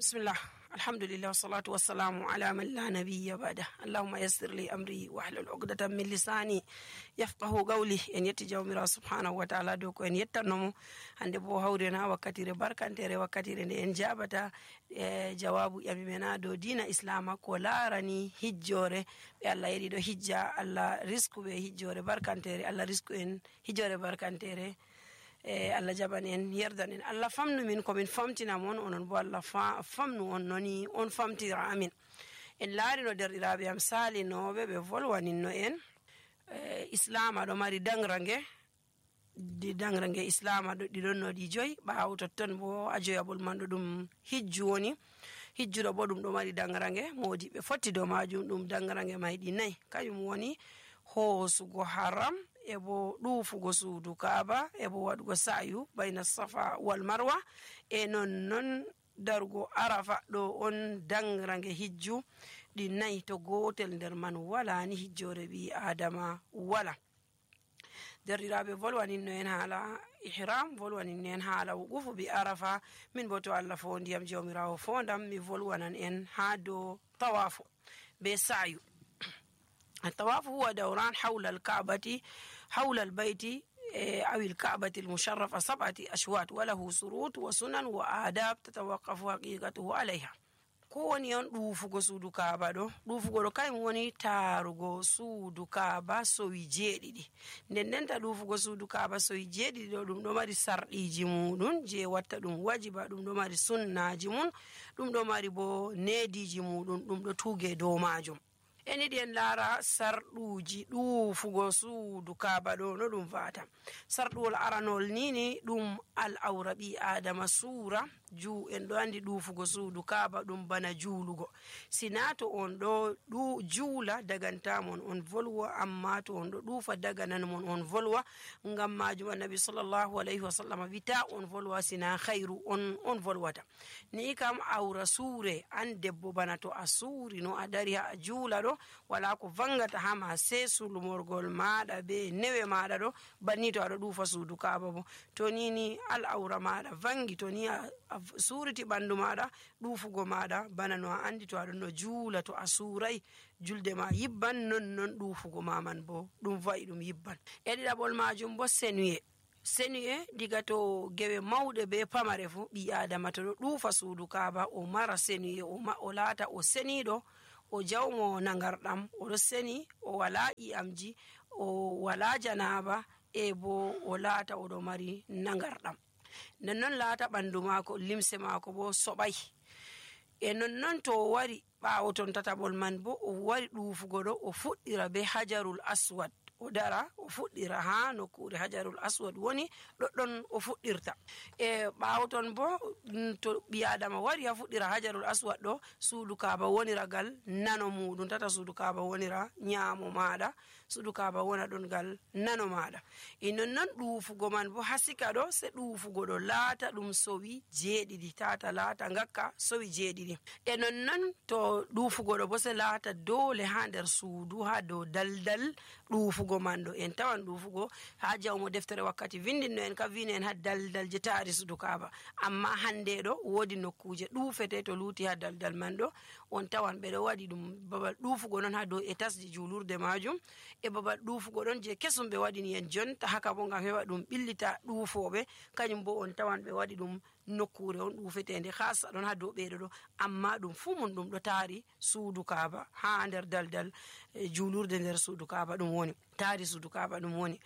Bismillah, alhamdulillah, wassalatu wassalamu ala man la nabiyya ba'da. Allahumma yassir li amri wahlul 'uqdatan min lisani yafqahu qawli. En yetti jawmira subhanahu wa ta'ala do ko en yettanomo hande bo hawrena wakkatire barkantere, wakkatire nde en jabata jawabu yami mena do dina islama ko larani hijjore be Allah yedi do hijja. Allah risku be hijjore barkantere, Allah risku en hijjore barkantere. Allah jaban en yerdan en, Allah famnu min ko min famtina mon, onon bo Allah famnu on noni on famtira amin. En laari no derɗiraɓe am salinoɓe ɓe volwaninno en islama ɗo mari dangrange islama ɗo ɗiɗon no ɗi joyi ɓawo totton bo a joyaɓol man ɗo ɗum hijju woni. Hijjuɗo bo ɗum ɗo mari dangrange modi ɓe fotti dow majum. ɗum dangrange may ɗi nayyi, kañum woni hoosugo haram, e bo ɗuufugo suudu kaaba, e bo waɗugo sa'yu bayna safa wal marwa, e non darugo arafa. ɗo on dangrange hijju ɗi nayyi. to gotel nder man wala ni hijjore ɓi adama wala. derɗiraɓe volwaninno en haala ihram, volwaninno en haala wuqufu bi arafa. min bo to Allah fo ndiyam jawmirawo fondam mi volwanan en ha dow tawafu be sa'yu. الطواف هو دوران حول الكعبة حول البيت أو الكعبة المشرفة 7 أشواط وله شروط وسنن وآداب تتوقف حقيقته عليها. kowoni on ɗuufugo suudu kaaba ɗo. ɗuufugo ɗo kayum woni taarugo suudu kaaba sowi 7. ndendenta ɗuufugo suudu kaaba sowi 7 ɗo ɗum ɗo mari sarɗiji muɗum je watta ɗum wajiba. ɗum ɗo mari sunnaji mum, ɗum ɗo mari bo neediji muɗum, ɗum ɗo tuuge dow majum. eniɗi en laara sarɗuji ɗuufugo suudu kaaba ɗo no ɗum vata. sarɗuwol aranol nini ɗum al awra ɓi adama suura en ɗo andi ɗuufugo suudu kaaba ɗum bana juulugo. sina to on ɗo juula dagantamon on volwa, amma to on ɗo ɗuufa dagananmon on volwa. ngam majum annabi sallallahu alayhi wa sallam wita on volwa sina khairu on volwata. ni kam awra suure an debbo bana to a suuri no a dari ha a juula ɗo wala ko vangata hama se sulmorgol maɗa be newe maɗa ɗo banni to aɗo ɗuufa suudu kaaba bo. to nini al awra maɗa vangi, to ni a suuriti ɓandu maɗa, ɗuufugo maɗa bana no a andi to aɗon no juula. to a suurai julde ma yibban, non ɗuufugo maman bo ɗum wayi ɗum yibban. e ɗiɗaɓol majum bo senuye diga to gewe mawɗe be pamare fu ɓi adama to ɗo ɗuufa suudu kaaba o mara senuye, o laata o seniɗo, o jawmo nagarɗam, oɗo seni, o wala ƴi'amji, o wala janaba, e bo o laata oɗo mari nagarɗam. nonnon laata ɓandu maako, limse maako bo soɓay. e nonnon to o wari ɓaawo ton tataɓol man bo o wari ɗuufugo ɗo, o fuɗɗira be hajarul aswad. o dara o fuɗɗira ha nokkure hajarul aswad woni ɗoɗɗon o fuɗɗirta. e ɓaawo ton bo to ɓi adama wari ha fuɗɗira hajarul aswad ɗo, suudu kaaba wonira gal nano muɗum. tata suudu kaaba wonira ñaamo maɗa, suudu kaaba wona ɗon gal nano maɗa. e nonnon ɗuufugo man bo hasika ɗo se ɗuufugo ɗo laata ɗum sowi 7, tata laata ngakka sowi 7. e nonnon to ɗuufugo ɗo bo se laata dole ha nder suudu ha dow daldal ɗuufugo man ɗo. en tawan ɗuufugo ha jawmo deftere wakkati vindinno en ka vino en ha daldal je taari suudu kaaba, amma hande ɗo woodi nokkuje ɗuufete to luuti ha daldal man ɗo. on tawan ɓeɗo waɗi ɗum babal ɗuufugo ɗon ha dow etasji julurde majum, e babal ɗuufugo ɗon je kesum ɓe waɗini en jonta haka bo ngam heɓa ɗum ɓillita ɗuufoɓe. kañum bo on tawan ɓe waɗi ɗum nokkure on ɗuufetende hasa ɗon ha dow ɓeɗo ɗo, amma ɗum fu mum ɗum ɗo taari suudu kaaba ha nder daldal julurde nder suudu kaaba ɗum woni, taari suudu kaaba ɗum woni.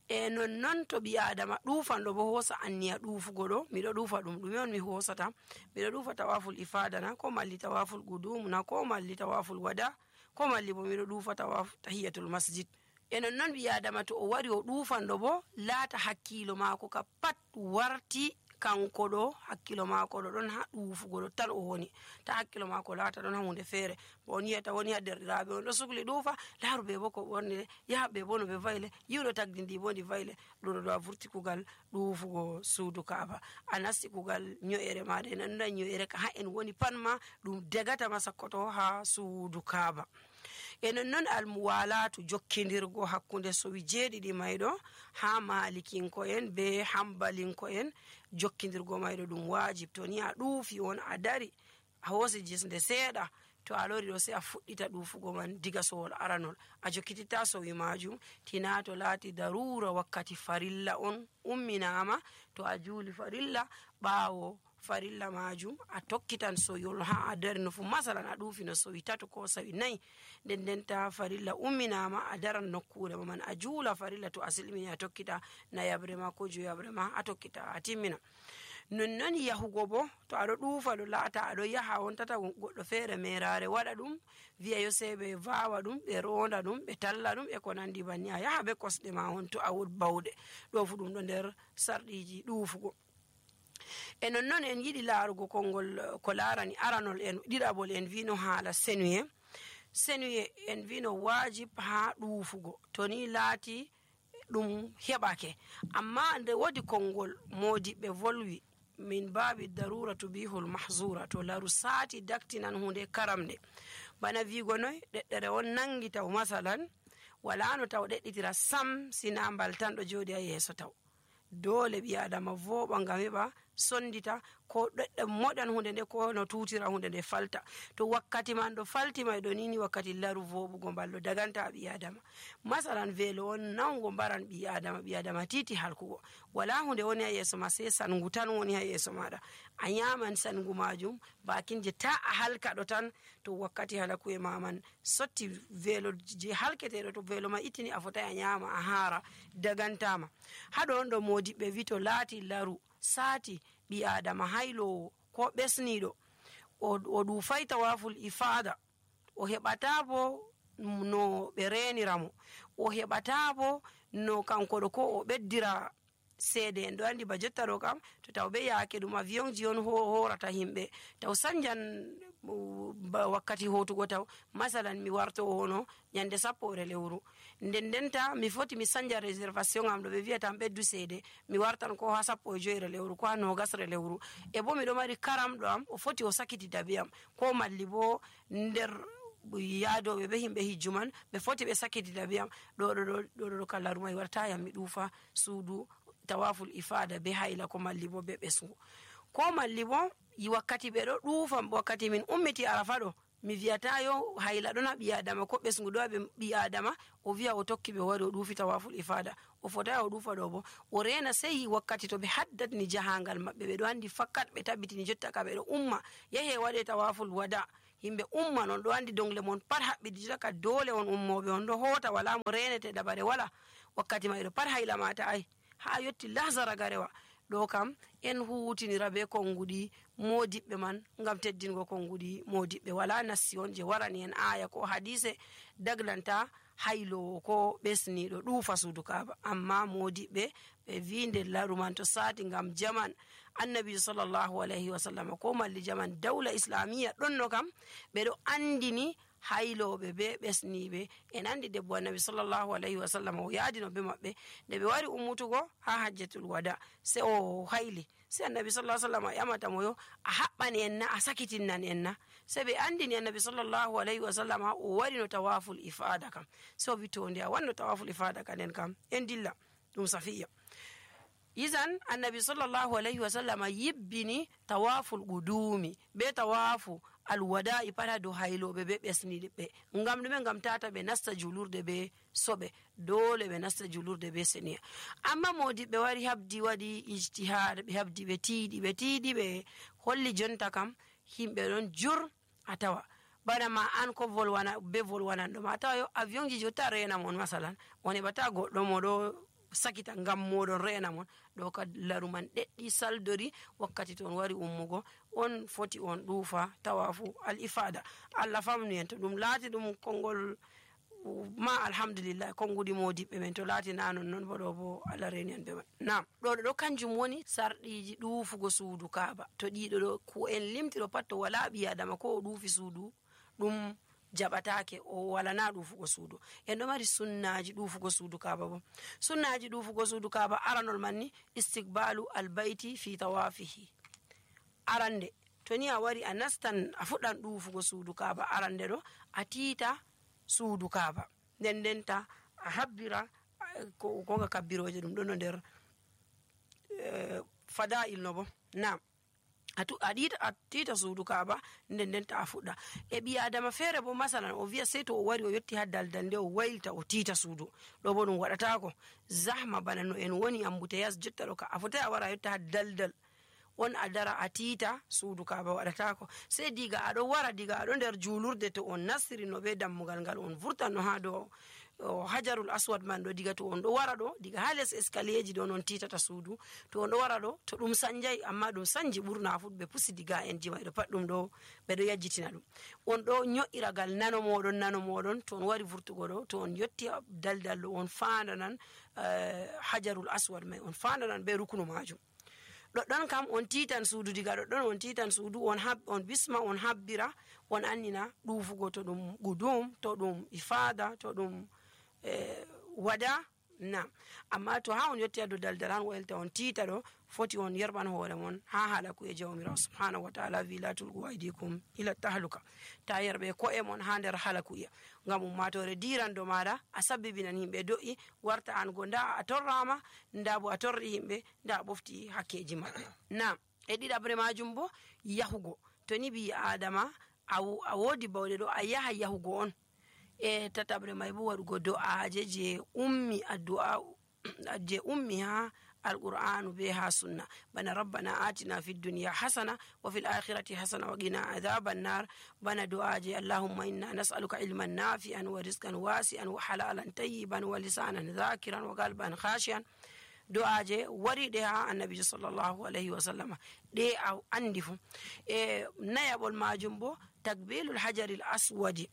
e nonnon to ɓi adama ɗuufanɗo bo hoosa anniya ɗuufugo ɗo, miɗo ɗuufa ɗum ɗume on mi hoosata, miɗo ɗuufa tawaful ifadana, ko malli tawaful gudumna, ko malli tawaful wada, ko malli bo miɗo ɗuufa tahiyatul masjid. e nonnon ɓi adama to o wari o ɗuufanɗo bo laata hakkilo maako ka pat warti kanko ɗo, hakkilo maako ɗo ɗon ha ɗuufugo ɗo tan o woni, ta hakkilo maako laata ɗon ha hunde feere. bo on yiyata woni ha derɗiraɓe on ɗo sukli ɗuufa, laaru ɓe bo ko ɓornire, yaha ɓe bo no ɓe vayle, yiwɗo tagdi ndi bo ndi vayle. ɗum ɗo a vurti kugal ɗuufugo suudu kaaba, a nasti kugal nyo'ere maɗa. en anduɗa nyo'ere ka ha en woni pat ma ɗum degatama sakkoto ha suudu kaaba. e nonnon almuwalatu jokkidirgo hakkunde sowi 7 mayɗo ha malikinko en be hambalinko en. jokkidirgo mayɗo ɗum wajib. to ni a ɗuufi on a dari a hoosi jisnde seeɗa to a lori ɗo sai a fuɗɗita ɗuufugo man diga sowol aranol a jokkititta sowi majum tina to laati darura wakkati farilla on umminama to a juuli farilla ɓaawo farilla majum a tokkitan soyol ha a darino fu masalan a ɗuufino sowi 3 ko sowi 4 nden ta farilla umminama a daran nokkure man a juula farilla to a silmini a tokkita nayabre ma ko joyabre ma a tokkita a timmina nonnon yahugo bo to aɗo ɗuufa ɗo laata aɗo yaha on tata goɗɗo feere merare waɗa ɗum wiya yo sei ɓe vawa ɗum ɓe ronda ɗum ɓe talla ɗum e ko nandi banni a yaha be kosɗe ma on to a wod bawɗe ɗo fu ɗum ɗo nder sarɗiji ɗuufugo e nonnon en yiɗi laarugo konngol ko laarani aranol en ɗiɗaɓol en wino haala senuye en wino wajib ha ɗuufugo to ni laati ɗum heɓake amma nde wodi konngol modiɓɓe volwi min baabi darura tubihul mahzura to laru saati daktinan hunde karamde bana wigo noy ɗeɗɗere on nangi taw masalan wala no taw ɗeɗɗitira sam sina mbal tan ɗo jooɗi ha yeeso taw dole ɓi adama voɓa ngam heɓa sondita ko ɗeɗɗe moɗan hunde nde ko no tutira hunde nde falta to wakkati man ɗo faltima ɗo nini wakkati laru voɓugo mballo daganta ɓi adama masalan veelo on nawgo mbaran ɓi adama titi halkugo wala hunde woni ha yeeso ma sai sangu tan woni ha yeeso maɗa a nyaman sangu majum bakinje ta a halka ɗo tan to wakkati halakuye maman sotti veelo je halketeɗo to veelo ma ittini a fotai a nyama a haara dagantama haɗo on ɗo modiɓɓe wi to laati laru saati ɓi adama haylowo ko ɓesniɗo o ɗufay tawaful ifada o heɓata bo no ɓe reniramo o heɓata bo no kanko ɗo ko o ɓeddira seede en ɗo andi ba jotta ɗo kam to taw ɓe yaake ɗum avionji on horata himɓe taw sanjan wakkati hotugo taw masalan mi warto hono nyande 10 lewru ndenta mi foti mi sanja réservation am ɗo ɓe wiyatam ɓeddu seede mi wartan ko ha 15 lewru ko ha 20 lewru e bo miɗo mari karamɗo am o foti o sakitita be am ko malli bo nder yaadoɓe ɓe himɓe hijju man ɓe foti ɓe sakitita be am ɗo kala rumay wartayam mi ɗuufa suudu tawaful ifada be hayla ko malli bo be ɓesgu ko malli bo wakkati ɓe ɗo ɗuufa wakkati min ummiti arafa ɗo mi wiyata yo hayla ɗon ha ɓi adama ko ɓesgu ɗo ha ɓi adama o wiya o tokki ɓe wari o ɗuufi tawaful ifada o fotai o ɗuufa ɗo bo o rena sei wakkati to ɓe haddatni jahangal maɓɓe ɓe ɗo andi fakkat ɓe tabbitini jotta ka ɓe ɗo umma yahe waɗe tawaful wada himɓe umma non ɗo andi dongle mon pat haɓɓiɗi jotta ka dole on ummoɓe on ɗo hota wala mo renete ɗaɓare wala wakkati ma ɗo pat hayla mata ay ha yotti lahzara garewa ɗo kam en hutinira be konguɗi modiɓɓe man ngam teddingo konguɗi modiɓɓe wala nassi on je warani en aya ko hadise daglanta haylowo ko ɓesniɗo ɗuufa suudu kaaba amma modiɓɓe ɓe wi nder laru man to saati ngam jaman annabi sallllahu alayhi wa sallam ko malli jaman dawla islamiya ɗonno kam ɓeɗo andini hayloɓe be ɓesniɓe en andi debbo annabi sallllahu alayhi wa sallam o yaadino be maɓɓe nde ɓe wari ummutugo ha hajjatul wada se o hayli se annabi sallah sallam a ƴamatamo yo a haɓɓani en na a sakitinnan en na se ɓe andini annabi sallllahu alayhi wa sallam o wari no tawaful ifada kam se o wi to nde a wanno tawaful ifada ka nden kam en dilla ɗum safiya izan annabi sallllahu alayhi wa sallam yibbini tawaful qudumi be tawafu alwada'i pat ha dow hayloɓe be ɓesniɓe ngam ɗume ngam tata ɓe nasta julurde be soɓe dole ɓe nasta julurde be seniya amma modiɓɓe wari habdi waɗi ijtihad ɓe habdi ɓe tiiɗi ɓe holli jonta kam himɓe ɗon jur a tawa bana ma an ko volwana be volwananɗo ma a tawa yo avion ji jotta rena mon masalan on heɓata goɗɗo mo ɗo sakita ngam moɗon rena mon ɗo ka laru man ɗeɗɗi saldori wakkati to on wari ummugo on foti on ɗuufa tawafu al ifada allah famnu en to ɗum laati ɗum konngol ma alhamdulillah konngudi modiɓɓe men to laati na non bo ɗo bo allah reni en be man nam ɗo kanjum woni sarɗiji ɗuufugo suudu kaaba to ɗiɗo ɗo ko en limtiɗo pat to wala ɓi adama ko o ɗuufi suudu ɗum jaɓatake o walana ɗuufugo suudu en ɗo mari sunnaji ɗuufugo suudu kaaba bo sunnaji ɗuufugo suudu kaaba aranol man ni istiqbalu albayti fi tawafihi arande to ni a wari a nastan a fuɗɗan ɗuufugo suudu kaaba arande ɗo a tiita suudu kaaba ndenta a habbira konga kabbiroje ɗum ɗo no nder fada'il no bo nam a tita suudu kaaba nden ta a fuɗɗa e ɓi adama feere bo masalan o wiya sey to o wari o yetti ha daldal nde o waylita o tita suudu ɗo bo ɗum waɗatako zahma bana no en woni ambuteyas jotta ɗo ka a fotai a wara a yetta ha daldal on a dara a tita suudu kaaba waɗatako sey diga aɗo wara diga aɗo nder julurde to on nastiri no be dammugal ngal on vurtan no ha dow hajarul aswad man ɗo diga to on ɗo wara ɗo diga ha les escalier ji ɗo non titata suudu to on ɗo wara ɗo to ɗum sanjay amma ɗum sanji ɓurna fu ɓe pusi diga en ji may ɗo pat ɗum ɗo ɓeɗo yajjitina ɗum on ɗo nyo'iragal nano moɗon to on wari vurtugo ɗo to on yetti daldal ɗo on fandanan hajarul aswad may on fandanan be rukunu majum ɗoɗɗon kam on titan suudu diga ɗoɗɗon on titan suudu on bisma on habbira on annina ɗuufugo to ɗum gudum to ɗum ifada to ɗum wada na amma to ha on yetti ha dow daldal han waylta on tita ɗo foti on yerɓan hoore mon ha haala kuye jawmirawo subhanahu wa taala wi la tulgu aydikum ila tahluka ta yerɓe ko'e mon ha nder hala kuye ngam ummatore dirando maɗa a sabbibinan himɓe do'i warta an go nda a torrama nda bo a torri himɓe nda a ɓofti hakkeji maɓɓe na e ɗiɗabre majum bo yahugo to ni ɓi adama a wodi bawɗe ɗo a yaha yahugo on e tatabre may bo waɗugo do'aje je ummi ha alqur'anu be ha sunna bana rabbana atina fid dunya hasana wa fil akhirati hasana wa qina adhaban nar bana du'aje allahumma inna nas'aluka ilman nafi'an wa rizqan wasi'an wa halalan tayyiban wa lisanan dhakiran wa qalban khashian du'aje wariɗe ha annabi sallallahu alaihi wa sallama ɗe a andi fu e nayabol majum bo takbilul hajaril aswadi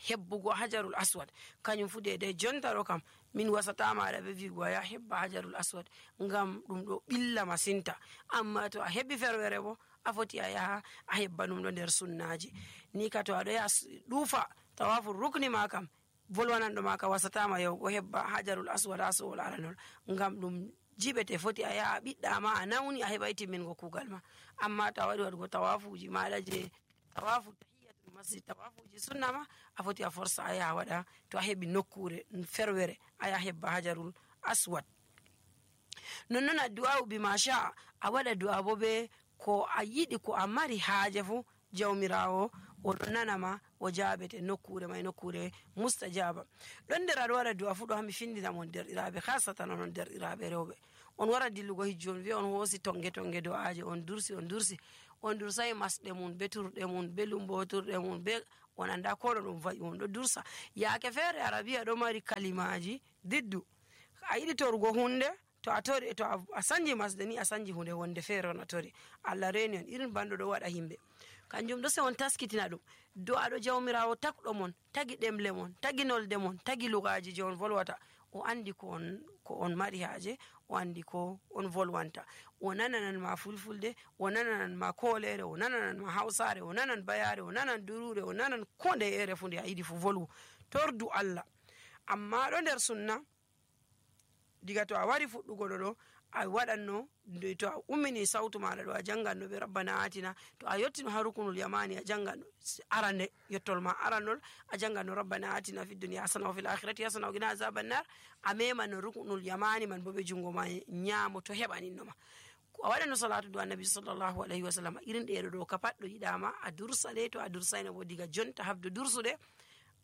hebbugo hajarul aswad kañum fu de jonta ɗo kam min wasatamaɗa ɓe wigo ya hebba hajarul aswad ngam ɗum ɗo ɓilla masinta amma to a hebbi ferwere bo a foti a yaha a hebba ɗum ɗo nder sunnaji ni ka to aɗo yaha ɗuufa tawafu rukni ma kam volwananɗo ma ka wasatama yahugo hebba hajarul aswad ha sowol aranol ngam ɗum jiɓete foti a yaha a ɓiɗɗama a nawni a heɓa timmingo kugal ma amma to a waɗi waɗugo tawafuji maɗa je tawafu masjid tawafuji sunna ma a foti a forsa a yaha waɗa to a heɓi nokkure ferwere a yaha hebba hajarul aswad nonnoon a du'a bi masha a waɗa du'a bo be ko a yiɗi ko a mari haaje fu jawmirawo oɗo nanama o jaabete nokkure may nokkure mustajaba ɗon nder aɗo waɗa du'a fu ɗo hami findinamon derɗiraɓe hasatan onon derɗiraɓe rewɓe on wara dillugo hijju on wiya on hoosi tonge do'aje on dursay masɗe mum be turɗe mum be lumboturɗe mum be on anda koɗo ɗum va'i on ɗo dursa yaake feere arabiya ɗo mari kalimaji diddu a yiɗi torugo hunde to a tori to a sanji masde ni a sanji hunde wonde feere on a tori Allah reni on irin banɗo ɗo waɗa himɓe kanjum ɗo se on taskitina ɗum do aɗo jawmirawo takɗo mon tagi ɗemle mon tagi nolde mon tagi lugaji je on volwata o andi ko on mari haaje o andi ko on volwanta o nananan ma fulfulde o nananan ma kolere o nananan ma hausare o nanan bayare o nanan durure o nanan ko nde ere fu nde a yiɗi fu volwu tordu Allah amma ɗo nder sunna diga to a wari fuɗɗugo ɗo a waɗanno to a ummini sawtu maɗa ɗo a janganno ɓe rabbana atina to a yettino ha rukunul yamani a janganno arande yettol ma arannol a janganno rabbana atina fid dunya hasana wa fil akhirati hasana wa qina azaban nar a memano rukunul yamani man bo ɓe jungo ma ñaamo to heɓaninnoma a waɗano salatu do annabi sallallahu alaihi wa sallam irin ɗeɗo ɗo ka pat ɗo yiɗama a dursaɗe to a dursayno bo diga jonta habdu dursuɗe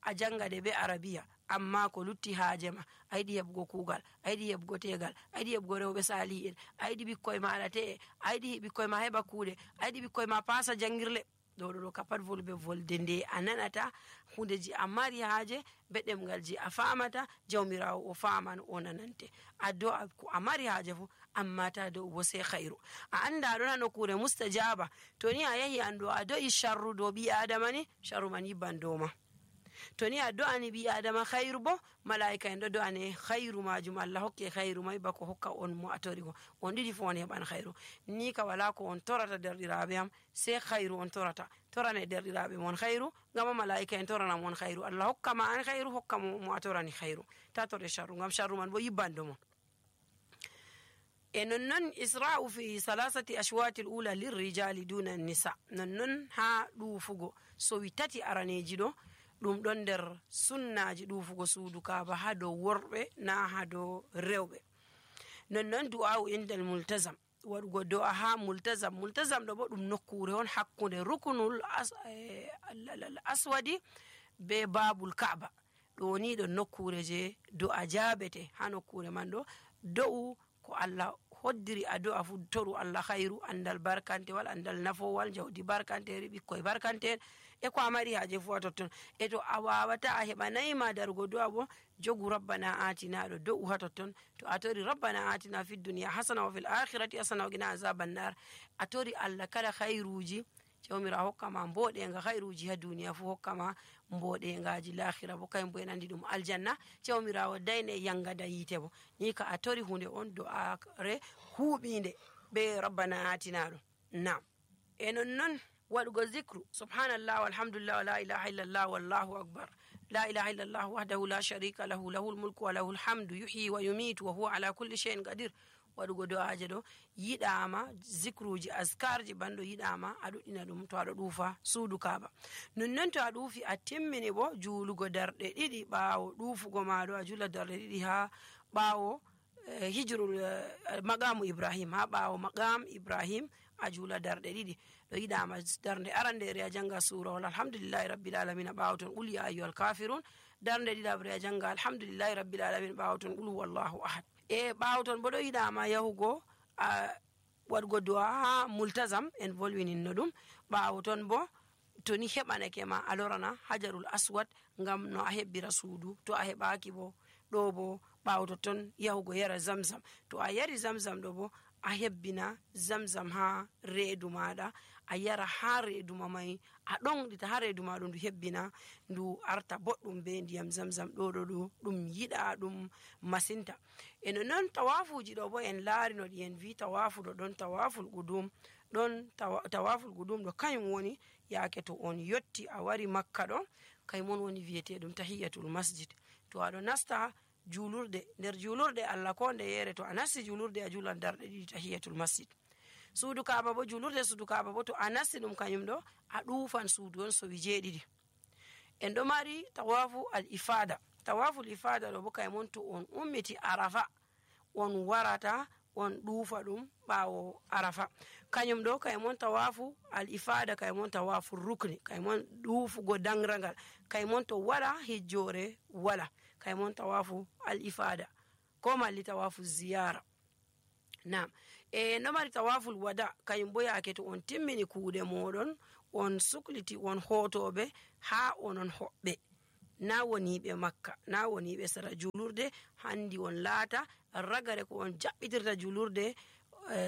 a jangade be arabiya amma ko lutti haaje ma a yiɗi heɓugo kuugal a yiɗi heɓugo tegal a yiɗi heɓugo rewɓe sali'en a yiɗi ɓikkoye maɗa te'e a yiɗi ɓikkoye ma heɓa kuuɗe a yiɗi ɓikkoye ma pasa jangirle ɗo ka pat volɓe volde nde a nanata hundeji a mari haaje be ɗemgal ji a famata jawmirawo o faman o nanante a do ko a mari haaje fu amma ta dow bo sai khairu a anda ɗo nano kure mustajaba to ni a yahi an ɗo a do'i sharru dow ɓi adama ni sharru man yibban dow ma to ni a do'ani ɓi adama khairu bo malaika en ɗo do'ane khairu majum Allah hokke khairu may bako hokka on mo a tori ko on ɗiɗi fu on heɓan khairu ni ka wala ko on torata derɗiraɓe am sai khairu on torane derɗiraɓe mon khairu ngam malaika en torana mon khairu Allah hokka ma an khairu hokka mo a torani khairu ta tore sharru ngam sharru man bo yibbando mon e nonnon isra'u fi salasati ashwati al-ula lirrijali duna an-nisa nonnon ha ɗufugo so wi tati araneji ɗo ɗum ɗon nder sunnaji ɗufugo suudu kaaba ha dow worɓe na ha dow rewɓe nonnon du'a'u indal multazam waɗugo do'a ha multazam. Multazam ɗo bo ɗum nokkure on hakkunde rukunul aswadi be babul ka'ba. ɗo ni ɗo nokkure je do'a jabete. ha nokkure man ɗo do'u ko Allah hoddiri a do'a fu toru Allah khairu, andal barkantewal, andal nafowal, jawdi barkanteri, ɓikkoy barkante'en e ko a mari haje fu ha totton. e to a wawata a heɓanayima darugo do'a bo jogu rabbana atina ɗo do'u ha totton. to a tori rabbana atina fid dunya hasana wa fil akhirati hasana wa qina azaban nar, a tori Allah kala khairuji jawmira hokkama mboɗenga khairuji ha duniya fu hokkama mboɗengaji lahira bo kayum bo en andi ɗum aljanna. jawmirawo dayne yangada yite bo ni ka a tori hunde on do'are huuɓinde be rabbana atina ɗo. nam e nonnon waɗugo zicru subhanallah walhamdulillah wa la ilaha illallah wallahu akbar, la ilaha illallah wahdahu la sharika lahu, lahul mulku wa lahul hamdu, yuhyi wa yumitu wa huwa ala kulli shay'in qadir. waɗugo do'aje ɗo yiɗama, zicruji askarji banɗo yiɗama a ɗuɗɗina ɗum to aɗo ɗuufa suudu kaba. nonnon to a ɗuufi a timmini bo juulugo darɗe ɗiɗi ɓaawo ɗuufugo maɗo, a jula darɗe ɗiɗi ha ɓaawo hijrul maqamu ibrahim, ha ɓaawo maqam ibrahim a jula darɗe ɗiɗi. ɗo yiɗama darde arandere a janga surawol alhamdulillahi rabbil alamin ɓaawo ton qul ya ayyuhal kafirun, darde ɗiɗabre a janga alhamdulillahi rabbil alamin ɓaawo ton qul huwallahu ahad. e ɓaawo ton bo ɗo yiɗama yahugo waɗugo do'a ha multazam en volwininno ɗum. ɓaawo ton bo to ni heɓanake ma a lorana hajarul aswad ngam no a hebbira suudu. to a heɓaki bo ɗo bo ɓaawo totton yahugo yara zamzam. to a yari zamzam ɗo bo a hebbina zamzam ha reedu maɗa a yara ha reedu ma mai a ɗonɗita ha reedu ma ɗum ndu hebbina ndu arta boɗɗum be ndiyam zamzam. ɗo ɗum yiɗa ɗum masinta. e no non tawafuji ɗo bo en laari no ɗi en vi tawafu ɗo ɗon tawaful qudum, ɗon tawaful qudum ɗo kayum woni yaake to on yotti a wari makka ɗo kaymon woni wiyeteɗum tahiyatul masjid. to aɗo nasta julurde, nder julurde Allah ko nde yere to a nasti julurde a julan darɗe ɗiɗi tahiyatul masjid. suudu kaba bo julurde suudu kaba bo to a nasti ɗum kanyum ɗo a ɗufan suudu on sowi jeeɗiɗi. en ɗo mari tawafu al ifada. tawaful ifada ɗo bo kaymon to on ummiti arafa on warata on ɗuufa ɗum ɓaawo arafa. kañum ɗo kaymon tawafu al ifada, kaymon tawafu rukni, kaymon ɗuufugo dangragal, kaymon to wala hijjore wala, kaymon tawafu al ifada ko malli tawafu ziyara. nam no mari tawaful wada kañum bo yaake to on timmini kuuɗe moɗon on sukliti on hotoɓe ha onon hoɓɓe, na woniɓe makka, na woniɓe sara julurde, handi on laata ragare ko on jaɓɓitirta julurde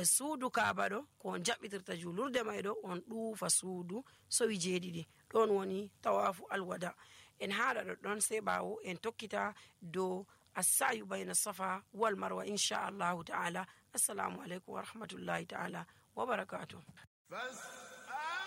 suudu kaba ɗo, ko on jaɓɓitirta julurde may ɗo on ɗuufa suudu sowi jeeɗiɗi. ɗon woni tawafu alwada. en haɗa ɗoɗɗon sey ɓaawo en tokkita dow assayu bayna safa wal marwa inchallahu ta'ala. assalamu aleykum wa rahmatullahi ta'ala wa barakatuh.